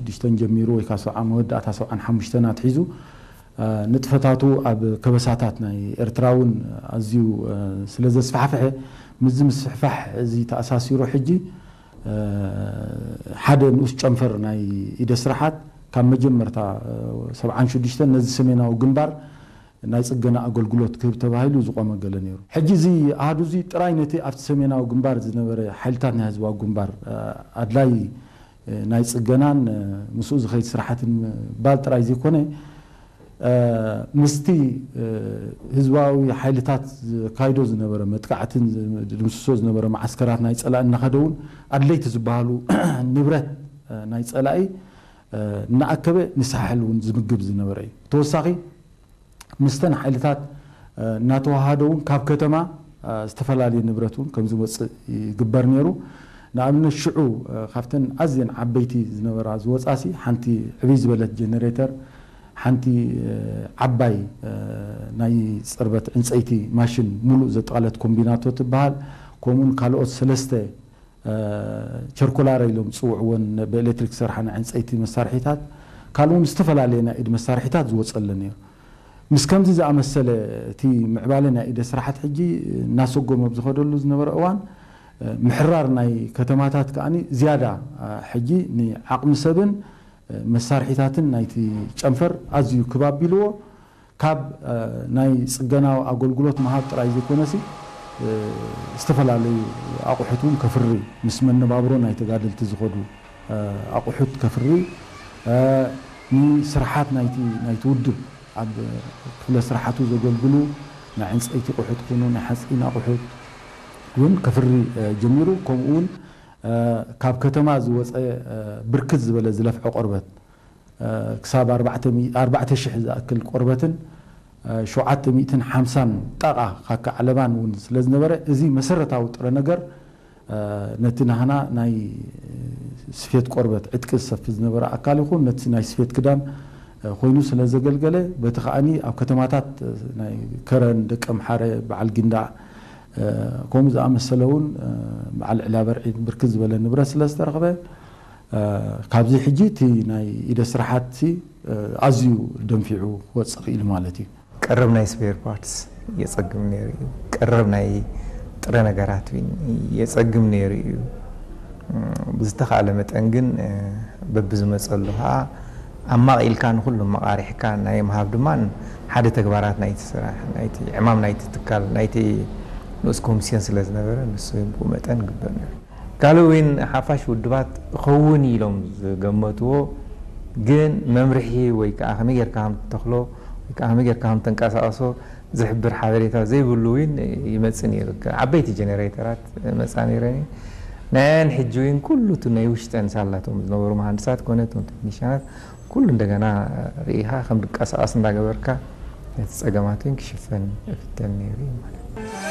ሽዱሽተን ጀሚሩ ወይ ካብ ሰብዓ መወዳእታ ሰብዓን ሓሙሽተን ኣትሒዙ ንጥፈታቱ ኣብ ከበሳታት ናይ ኤርትራ እውን ኣዝዩ ስለ ዘስፋሕፍሐ፣ ምስዚ ምስፍሕፋሕ እዚ ተኣሳሲሩ ሕጂ ሓደ ንኡስ ጨንፈር ናይ ኢደ ስራሓት ካብ መጀመርታ ሰብዓን ሽዱሽተን ነዚ ሰሜናዊ ግንባር ናይ ጽገና ኣገልግሎት ክህብ ተባሂሉ ዝቖመ ገለ ነይሩ። ሕጂ እዚ ኣሃዱ እዚ ጥራይ ነቲ ኣብቲ ሰሜናዊ ግንባር ዝነበረ ሓይልታት ናይ ህዝባዊ ግንባር ኣድላይ ናይ ጽገናን ምስኡ ዝኸይድ ስራሓትን ምባል ጥራይ ዘይኮነ፣ ምስቲ ህዝባዊ ሓይልታት ዘካይዶ ዝነበረ መጥቃዕትን ድምስሶ ዝነበረ መዓስከራት ናይ ጸላኢ እናኸደ እውን ኣድለይቲ ዝበሃሉ ንብረት ናይ ጸላኢ እናኣከበ ንሳሕል እውን ዝምግብ ዝነበረ እዩ። ተወሳኺ ምስተን ሓይልታት እናተዋሃደ እውን ካብ ከተማ ዝተፈላለየ ንብረት እውን ከም ዝወፅእ ይግበር ነይሩ። ንኣብነት ሽዑ ካብተን ኣዝየን ዓበይቲ ዝነበራ ዝወፃሲ ሓንቲ ዕብይ ዝበለት ጀነሬተር፣ ሓንቲ ዓባይ ናይ ፅርበት ዕንፀይቲ ማሽን ሙሉእ ዘጠቓለት ኮምቢናቶ ትበሃል፣ ከምኡውን ካልኦት ሰለስተ ቸርኮላረ ኢሎም ዝፅውዕወን ብኤሌክትሪክ ዝሰርሓ ናይ ዕንፀይቲ መሳርሒታት፣ ካልእ እውን ዝተፈላለየ ናይ ኢድ መሳርሒታት ዝወፀለን እዩ። ምስ ከምዚ ዝኣመሰለ እቲ ምዕባለ ናይ ኢደ ስራሓት ሕጂ እናሰጎመ ኣብ ዝኸደሉ ዝነበረ እዋን፣ ምሕራር ናይ ከተማታት ከኣ ዝያዳ ሕጂ ንዓቕሚ ሰብን መሳርሒታትን ናይቲ ጨንፈር ኣዝዩ ክብ ኣቢልዎ፣ ካብ ናይ ጽገናዊ ኣገልግሎት ምሃብ ጥራይ ዘይኮነሲ ዝተፈላለዩ ኣቑሑት እውን ከፍሪ፣ ምስ መነባብሮ ናይ ተጋደልቲ ዝኸዱ ኣቑሑት ከፍሪ፣ ንስርሓት ናይቲ ናይቲ ውድብ ኣብ ክፍለ ስርሓቱ ዘገልግሉ ናይ ዕንፀይቲ ኣቑሑት ኮኑ ናይ ሓፂን ኣቑሑት እውን ከፍሪ ጀሚሩ። ከምኡ እውን ካብ ከተማ ዝወፀ ብርክት ዝበለ ዝለፍዖ ቆርበት ክሳብ ኣርባዕተ ሚእቲ ኣርባዕተ ሽሕ ዝኣክል ቆርበትን ሸውዓተ ሚእትን ሓምሳን ጣቓ ካካ ዓለባን እውን ስለ ዝነበረ፣ እዚ መሰረታዊ ጥረ ነገር ነቲ ናህና ናይ ስፌት ቆርበት ዕጥቂ ዝሰፊ ዝነበረ ኣካል ይኹን ነቲ ናይ ስፌት ክዳን ኮይኑ ስለ ዘገልገለ፣ በቲ ከኣኒ ኣብ ከተማታት ናይ ከረን፣ ደቀምሓረ፣ በዓል ጊንዳዕ ከምኡ ዝኣመሰለ እውን በዓል ዕላበርዒ ብርክት ዝበለ ንብረት ስለ ዝተረኽበ፣ ካብዚ ሕጂ እቲ ናይ ኢደ ስራሓት ኣዝዩ ደንፊዑ ክወፅእ ክኢሉ ማለት እዩ። ቀረብ ናይ ስፔር ፓርትስ የጸግም ነይሩ እዩ። ቀረብ ናይ ጥረ ነገራት እውን የጸግም ነይሩ እዩ። ብዝተኻእለ መጠን ግን በብዝመጸሉ ከዓ ኣማቒልካ ንኹሎም መቓሪሕካ ናይ ምሃብ ድማ ሓደ ተግባራት ናይቲ ስራሕ ናይቲ ዕማም ናይቲ ትካል ናይቲ ንኡስ ኮሚስዮን ስለ ዝነበረ ንሱ ብኡ መጠን ግበር ነይሩ። ካልእ እውን ሓፋሽ ውድባት እኸውን ኢሎም ዝገመትዎ ግን መምርሒ ወይ ከዓ ከመይ ጌርካ ከም ትተኽሎ ወይ ከዓ ከመይ ጌርካ ከም ተንቀሳቐሶ ዝሕብር ሓበሬታ ዘይብሉ እውን ይመጽእ ነይሩ። ዓበይቲ ጀነሬተራት መጻ ነይረን እየን። ናየን ሕጂ እውን ኩሉ እቲ ናይ ውሽጠን ሳላቶም ዝነበሩ መሃንድሳት ኮነ እቶም ቴክኒሽያናት ኩሉ እንደገና ርኢኻ ከም ድቀሳቐስ እንዳገበርካ ነቲ ጸገማት እውን ክሽፈን እፍተን ነይሩ እዩ ማለት እዩ።